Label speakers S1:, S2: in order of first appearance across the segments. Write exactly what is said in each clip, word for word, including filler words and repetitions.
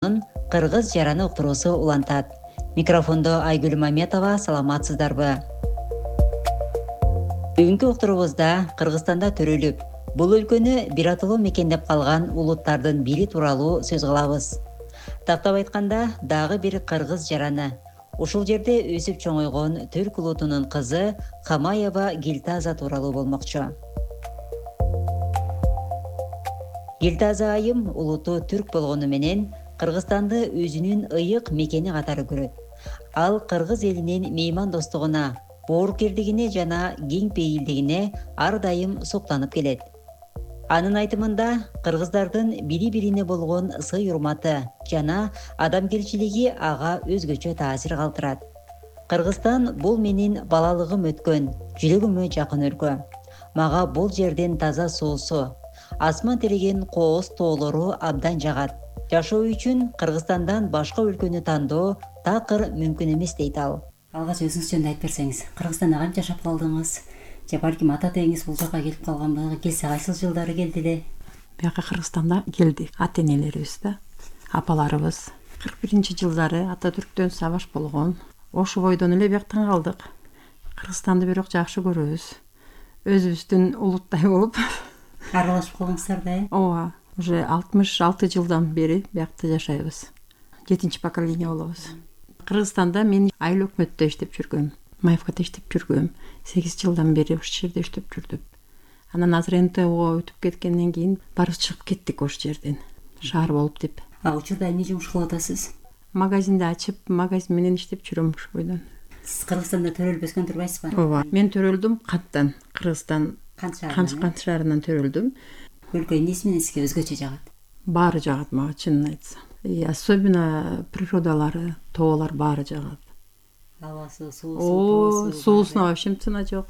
S1: Кыргыз жараны уктуруусу улантат. Микрофондо Айгүл Маметова, саламатсыздарбы? Бүгүнкү уктуруубузда Кыргызстанда төрөлүп, бул өлкөнү бир атылуу мекендеп калган улуттардын бири тууралуу сөз кылабыз. Тактап айтканда, дагы бир кыргыз жараны. Ушул жерде өсүп чоңойгон Түрк улутунун кызы Камаева Гилтаза тууралуу болмокчу. Гилтаза айым улуту түрк болгону менен Кыргызстанды өзүнүн ыйык мекени катары көрөт. Ал кыргыз элинин меймандостугуна, боорукердигине жана кең пейилдигине ар дайым суктанып келет. Анын айтымында, кыргыздардын бири-бирине болгон сый-урматы жана адамгерчилиги ага өзгөчө таасир калтырат. Кыргызстан бул менин балалыгым өткөн, жүрөгүмө жакын өлкө. Мага бул жердин таза суусу, асман тиреген кооз тоолору абдан жагат. Жашоо үчүн Кыргызстандан башка өлкөнү тандоо такыр мүмкүн эмес дейт ал.
S2: Алгач өзүңүз жөнүндө айтып берсеңиз, Кыргызстанда канча жашап калдыңыз? Же балким ата тегиңиз бул жака келип калганбы? Келсе кайсыл жылдары келди эле?
S3: Бияка Кыргызстанда келдик. Ата энелерибиз да, апаларыбыз. кырк биринчи жылдары ата түрктөн сабаш болгон. Ошо бойдон эле бияктан калдык. Кыргызстанды бирок жакшы көрөбүз. Өзүбүздүн улуттай болуп
S2: Аралашып калдыңыздар да, э?
S3: Ооба, уже алтымыш алты жылдан бери биякта жашайбыз. Жетинчи поколение болобуз. Кыргызстанда мен айыл өкмөттө иштеп жүргөм. Маевкада иштеп жүргөм. сегиз жылдан бери ошол жерде иштеп жүрдүм. Анан азыр эн тэ о өтүп кеткенден кийин барып чыгып кеттик ошол жерден. Шаар болуп деп.
S2: А учурда эмне жумуш кылып атасыз?
S3: Магазинди ачып, магазин менен иштеп жүрөм ошол бойдон.
S2: Сиз Кыргызстанда төрөлүп өскөн турбайсызбы?
S3: Ооба. Мен төрөлдүм Канттан, Кыргызстан
S2: Кант
S3: Кант шаарынан төрөлдүм.
S2: Өлкө эмнеси менен сизге өзгөчө жагат?
S3: Баары жагат мага, чынын айтсам. И особенно природалары, тоолар баары жагат.
S2: Абасы, суусу,
S3: О,
S2: тоосу.
S3: суусуна вообще цена жок.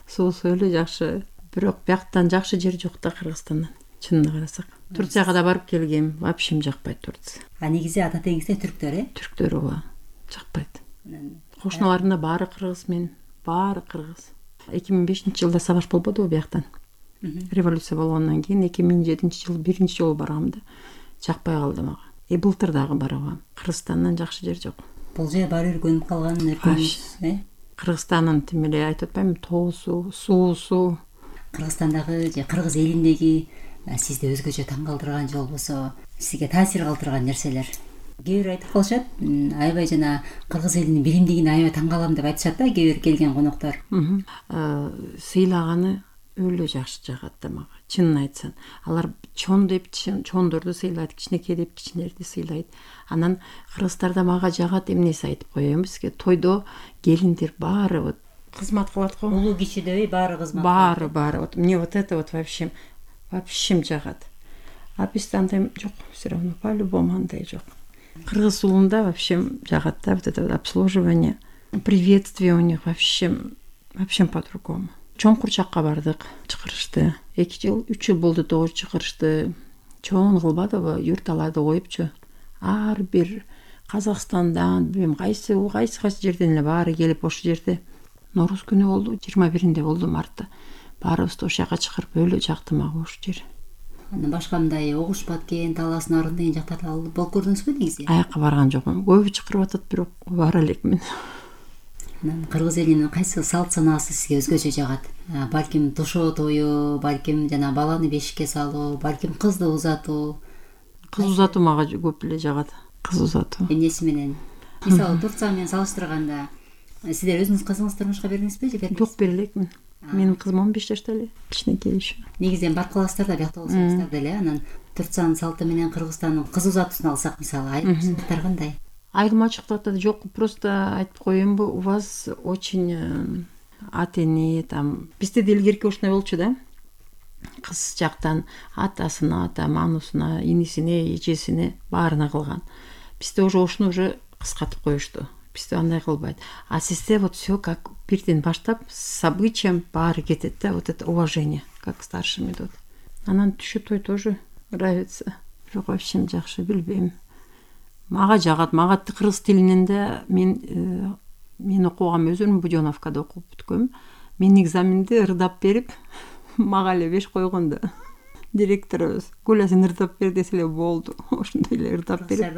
S3: Суусу эле жакшы. Бирок бияктан жакшы жер жок да Кыргызстандан. Чынын карасак. Турцияга да барып келгем, вообще жакпайт Турция.
S2: А негизи ата тегиңизде түрктөр, э?
S3: Түрктөр ооба, жакпайт. Кошуналарымда баары кыргыз мен, баары кыргыз. эки миң бешинчи жылда сабаш болбодубу бияктан? Революция болгондон кийин эки миң жетинчи жыл биринчи жолу баргам да жакпай калды мага. И былтыр дагы баргам. Кыргызстандан жакшы жер жок.
S2: Бул жер баары өргөнүп калган өлкөбүз, э?
S3: Кыргызстандын тим эле айтып атпаймынбы, тоосу, суусу.
S2: Кыргызстандагы же кыргыз элиндеги сизди өзгөчө таң калтырган же болбосо сизге таасир калтырган нерселер. Кээ бир айтып калышат, аябай жана кыргыз элинин биримдигине аябай таң калам деп айтышат да, кээ бир келген коноктор.
S3: Сыйлаганы өлө жакшы жагат да мага. Чынын айтсам, алар чоң деп чоңдорду сыйлайт, кичинекей деп кичинелерди сыйлайт. Анан кыргыздарда мага жагат эмнеси айтып коеюн бизге. Тойдо келиндер баары вот кызмат кылат го.
S2: Улуу кишидей баары кызмат.
S3: Баары, баары. Вот мне вот это вот вообще вообще жагат. А бизде андай жок, все равно по-любому андай жок. Кыргыз улунда вообще жагат да, вот это вот обслуживание, приветствие у них вообще вообще по-другому. Чоң курчакка бардык, чакырышты. эки жыл, үч жыл болду тогуз чакырышты. Чоң кылбадыбы, юрт аларды коюпчу. Ар бир Казакстандан, билбейм кайсы кайсы кайсы жерден эле баары келип ошол жерде Нооруз күнү болду, жыйырма биринде болду мартта. Баарыбызды ошол жака чакырып өлө жакты мага ошол жер.
S2: Анан башка мындай Огуш Баткен, Талас Нарын деген жактарда болуп көрдүңүзбү негизи?
S3: Аякка барган жокмун. Көбү чакырып атат, бирок бара элекмин.
S2: Анан кыргыз элинин кайсы салт санаасы сизге өзгөчө жагат? Балким тушоо тою, балким жана баланы бешикке салуу, балким кызды узатуу.
S3: Кыз узатуу мага көп эле жагат. Кыз узатуу.
S2: Эмнеси менен? Мисалы Турция менен салыштырганда, сиздер өзүңүз кызыңызды турмушка бердиңизби же бербейсизби?
S3: Жок, бере элекмин. Менин кызым он беш жашта эле, кичинекей еще.
S2: Негизи бар каласыздар да, биякта болсоңуздар деле. Анан Турциянын салты менен Кыргызстандын кыз узатуусун алсак, мисалы, айырмачылыктар кандай?
S3: Айырмачылыктар да жок, просто айтып коеюнбу, у вас очень ата эне там. Бизде де илгерки ушундай болчу да. Кыз жактан атасына, там анусуна, инисине, эжесине баарына кылган. Бизде уже ушуну уже кыскартып коюшту. Бизде андай кылбайт. А сизде вот все как бирден баштап с обычаем баары кетет да, вот это уважение, как к старшим идут. Анан түшү той тоже нравится. Бирок вообще жакшы, билбейм. Мага жагат, мага кыргыз тилинен да мен мен окугам өзүм Будёновкада окуп бүткөм. Мен экзаменди ырдап берип, мага эле беш койгон да. директорубуз Гуля сен ырдап бер десе эле болду. Ошондой эле ырдап берип